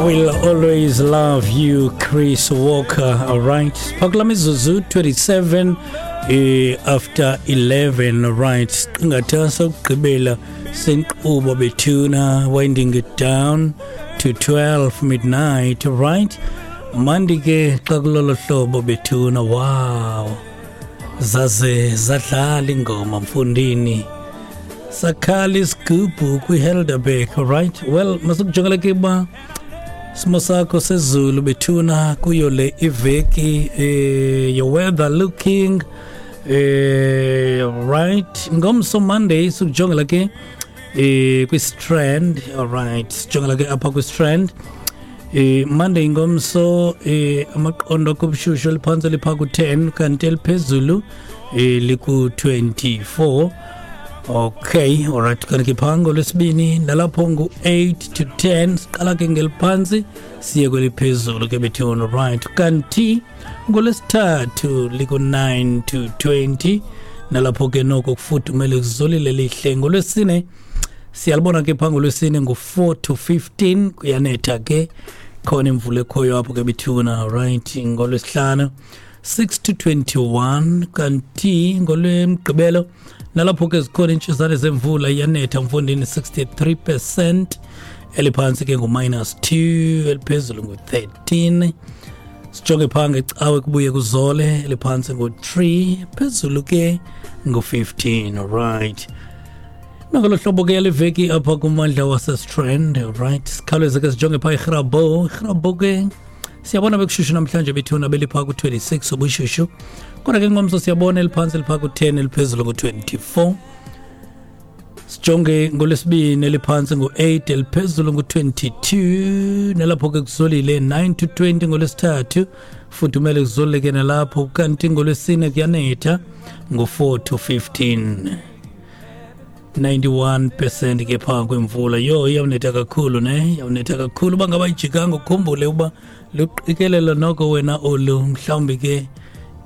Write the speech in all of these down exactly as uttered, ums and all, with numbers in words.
Will always love you, Chris Walker. All right, phakula mizuzu twenty-seven eh, after eleven. Right, siqingatha sokugqibela senkqubo bethuna, winding it down to twelve midnight. Right, mandi ke xa kulolo hlobo bethuna. Wow, zaze zadlala ingoma mfundini, sakhala isigubhu kwiHelderberg. Right, well, masukujongela ke uba simo sakho sezulu bethuna kuyo le iveki, eh, your weather looking eh, right. Ngomso Monday sukujongela ke eh, kwi-Strand. Alright, sijongela ke apha kwi-Strand eh, Monday ngomso, eh, amaqondo kobushushu eliphantsi lipha ku-ten kanti eliphezulu eh, liku-twenty-four. Okay, alright, kanti ke phaa ngolwesibini nalapho ngu-eight to ten, siqala ke ngeliphantsi siye kweliphezulu ke bethuna. Right, kanti ngolwesithathu liku-nine to twenty, nalapho ke noko kufudumele kuzolile lihle. Ngolwesine siyalibona ke phaa ngolwesine ngu-four to fifteen, kuyanetha ke, khona imvula ekhoyo apho ke bethuna. Right, ngolwesihlanu six to twenty-one, kanti ngolwemgqibelo nalapho ke zikhona iintshisane zemvula, iyanetha mfondini, sixty-three percent, eliphantsi ke ngu-minus two, eliphezulu ngu-thirteen. Sijonge phaa ngecawe kubuye kuzole, eliphantsi ngu-three, phezulu ke ngu-fifteen. Right, nangolo hlobo ke yale veki apha kummandla waseStrand. Right, sikhawuleze ke sijonge phaa iGrabouw. IGrabouw ke siyabona bekushushu namhlanje bethuna, beliphaa ku-twenty-six ubushushu, kodwa ke ngomso siyabona eliphantsi liphaa ku-ten, eliphezulu ngu-twenty-four. Sijonge ngolwesibini, eliphantsi ngu-eight, eliphezulu ngu-twenty-two, nalapho ke kuzolile, nine to twenty ngolwesithathu, fudumele kuzolile ke nalapho, kanti ngolwesine kuyanetha ngu-four to fifteen, ninety-one percent ke phaa kwimvula. Yho, iyawunetha kakhulu ne, iyawunetha kakhulu. Uba ngaba ijikanga ukhumbule uba luqikelelo noko wena olu, mhlawumbi ke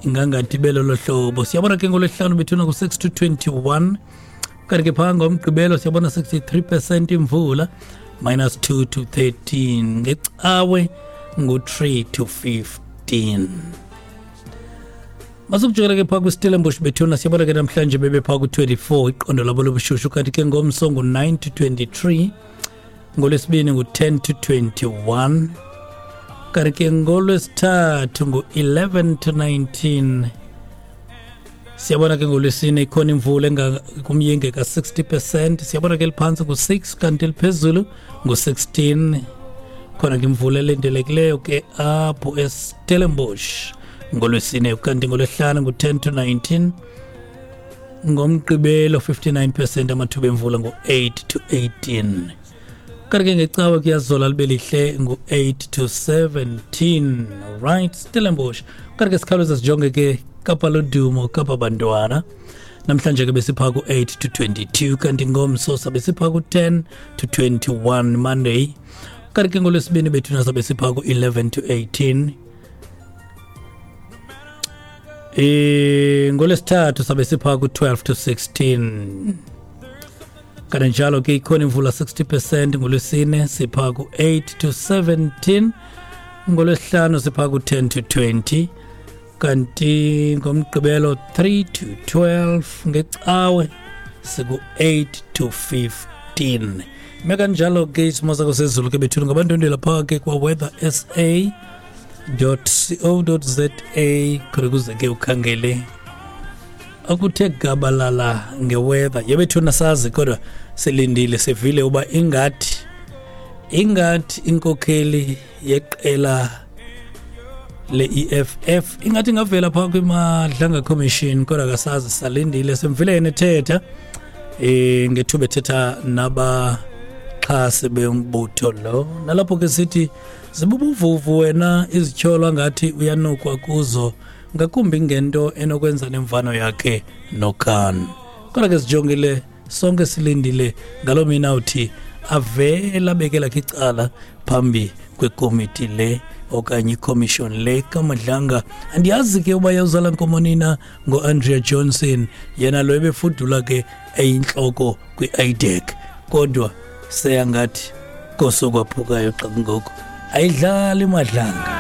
ingangathi belolo hlobo. Siyabona ke ngolwesihlanu bethuna ku-six to twenty-one, kanti ke phaa ngomgqibelo siyabona sixty-three percent imvula, minus two to thirteen, ngecawe ngu-three to fifteen. Masukujongela ke phaa kwiStellenbosch bethuna, siyabona ke namhlanje bebephaa ku-twenty-four iqondo labo lobushushu, kanti ke ngomso ngu-nine to twenty-three, ngolwesibini ngu-ten to twenty-one, kanti ke ngolwesithathu ngu-eleven to nineteen. Siyabona ke ngolwesine ikhona imvula kumyinge ka-sixty percent, siyabona ke eliphantsi ngu-six kanti eliphezulu ngu-sixteen. Khona ke imvula elindelekileyo ke apho eStellenbosch ngolwesine, kanti ngolwesihlanu ngu-ten to nineteen, ngomgqibelo fifty-nine percent amathuba emvula ngu-eight to eighteen, kanti ke ngecawe kuyazola libe lihle ngu-eight to seventeen. Right, Stellenbosch. Kanti ke sikhawuleza sijonge ke Kapa Lodumo, Kapa Bantwana. Namhlanje ke besiphaa ku-eight to twenty-two, kanti ngomso sabe siphaa ku-ten to twenty-one Monday, kanti ke ngolwesibini bethuna sabe siphaa ku-eleven to eighteen. Eh ngolwesithathu sabe siphaa ku-twelve to sixteen. Kanti njalo ke ikhona imvula sixty percent ngolwesine, siphaa ku-eight to seventeen, ngolwesihlanu siphaa ku-ten to twenty, kanti ngomgqibelo three to twelve, ngecawe siku-eight to fifteen. Ime kanjalo ke isimo sakho sezulu ke bethuna, ngabantwendela phaa ke kwa-weather S A dot co dot za, khona ukuze ke ukhangele akuthe gabalala ngeweather yebethuna. Sazi kodwa silindile, sivile uba ingathi ingathi inkokheli yeqela le-E F F ingathi ingavela phaa kwiMadlanga Commission, kodwa kasazi, salindile. Simvile yena ethetha eh ngethuba ethetha nabaxhasi bembutho lo, nalapho ke sithi zibubuvuvu wena izityholo ngathi uyanukwa kuzo, ngakumbi ngento enokwenza nemvano yakhe noKhan. Kodwa ke sijongile sonke, silindile ngaloo mina uthi avele abeke lakhe icala phambi kwekomiti le okanye ikhomishoni le kaMadlanga. Andiyazi ke uba yawuzala nkomo nina ngo-Andrea Johnson, yena lo ebefudula ke eyintloko kwi-I D E C, kodwa seyangathi kosokwaphukayo xa kungoku. Ayidlali, Madlanga.